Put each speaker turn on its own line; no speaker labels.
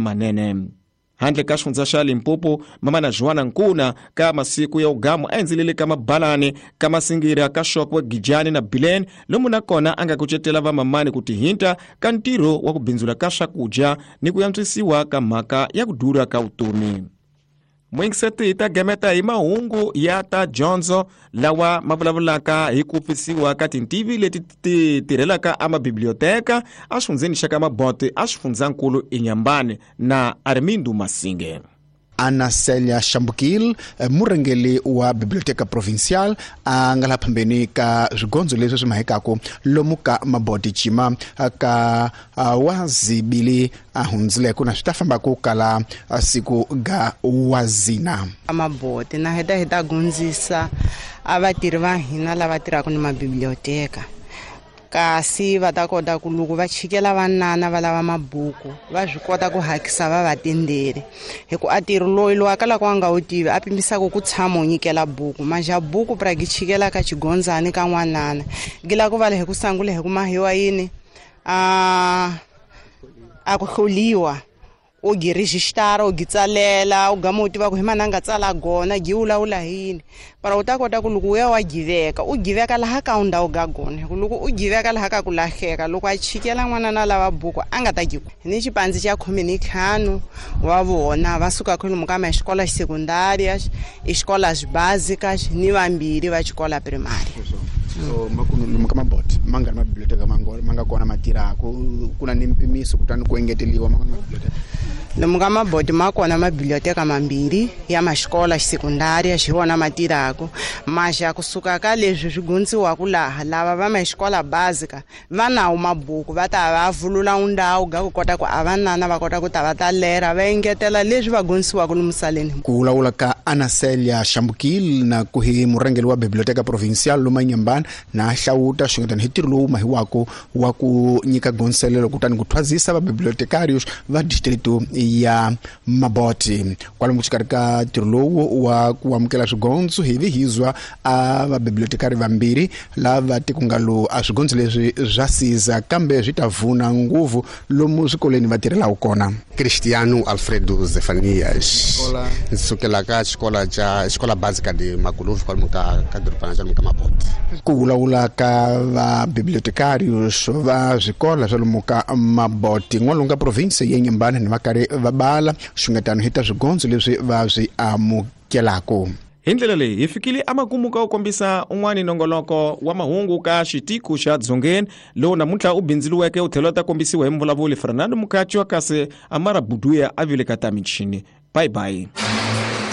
Manene. Handle ka xifundza xa Limpopo, mamana Joana Nkuna ka masiku ya ugamu a endzelele ka Mabalani, ka Masingira, ka Shokwe, Gijani na Bilene, lomu na kona a nga kucetela vamamani ku tihinta ka ntirho wa ku bindzula ka swakudya ni ku yantswisiwa ka mhaka ya ku durha ka vutomi. Muyingiseti, hi ta gemeta hi mahungu ya ta dyondzo lawa ma vulavulaka hi ku pfisiwa ka tintivi leti ti tirhelaka emabiblioteka exifundzheni xa ka Mabote exifundzhankulu Inhambane na Armindo Masinge.
Ana Celia Xambukil, murhangeri wa Biblioteca Provincial, a nga laha phambeni ka swigondzo leswi swi mahekaku lomu ka Maboti Cima ka wazibili a hundzileko na swi ta famba ku kala siku ga wazina.
Maboti na heta hi ta gundzisa a vatirhi va hina lava tirhaka ni mabiblioteka, kasi va ta kota ku loko va chikela vanana va lava mabuku va swi kota ku hakisa va va tendele, hi ku a tirhi loyi loyi a kalaka a nga wu tivi a pimisaka ku tshama u nyikela buku maja buku pra gi chikela ka xigondzani ka n'wanana gi la ku vala hi ku sangula hi ku mahiwa yini a ku hloliwa u gi registara u gi tsalela u gama u tiva ku hi mani a nga tsala gona gi vulavula hi yini, para u ta kota ku loko u ya wa giveka u giveka laha ka u ndhawu ga gona, hi ku loko u giveka laha ka ku lahleka loko a chikela n'wana na lava buku a nga ta gi ni xipandzi xa 15 wa vona va suka kwalomu ka maxikola xisecondarias, xikola básicas ni vambirhi va xikola primária.
So lomu ka Maboti ma nga ri mabiblioteka ma nga kona ma tirhaku ku na ni mpimiso kutani ku engeteliwa man'wana mabiblioteka?
Lomu ka Maboti ma kona mabiblioteka mambirhi ya maxikola xisekundaria, xi wona ma tirhaku maxa kusuka ka leswi swi gundziwaku laha lava va maxikola básica va nawo mabuku va ta va vulula ndhawu ga ku kota ku a vanana va kota ku ta va ta lera va engetela leswi va gondzisiwaka lomu saleni.
Ku vulavula ka Ana Celia Xambukil na ku hi murhangeri wa Biblioteca Provincial lomu Inhambane na hlawuta xingetani hi ntirho lowu mahiwako wa ku nyika gonselelo kutani ku thwazisa vabibliotecarios va distrito ya Maboti. Kwalomu xikarhi ka ntirho lowu wa ku amukela swigondzo hi vi hizwa a vabibliotekari vambirhi lava tikunga lowu a swigondzo leswi swa siza kambe swi ta vuna nguvu lomu swikolweni va tirhelaku kona.
Cristiano Alfredo Zefanias, ndzi sukela ka xikola xa xikola básica de Maculuve kwalomu ka dorobana xa lomu ka Maboti.
Ku vulavula ka vabibliotecarios va swikola swa lomu ka Maboti n'walungu ka province ya Inhambane ni va karhi va bala xungetano hi ta swigondzo leswi va swi amukelaku.
Hi ndlela leyi hi fikile emakumu ka ku kombisa un'wani nongoloko wa mahungu ka xitiko xa Dzongeni lowu namuntlha u bindziliweke u tlhela u ta kombisiwa hi muvulavuli Fernando Mukachwa, kasi Amara Buduya a vile ka ta michini. Bye bye.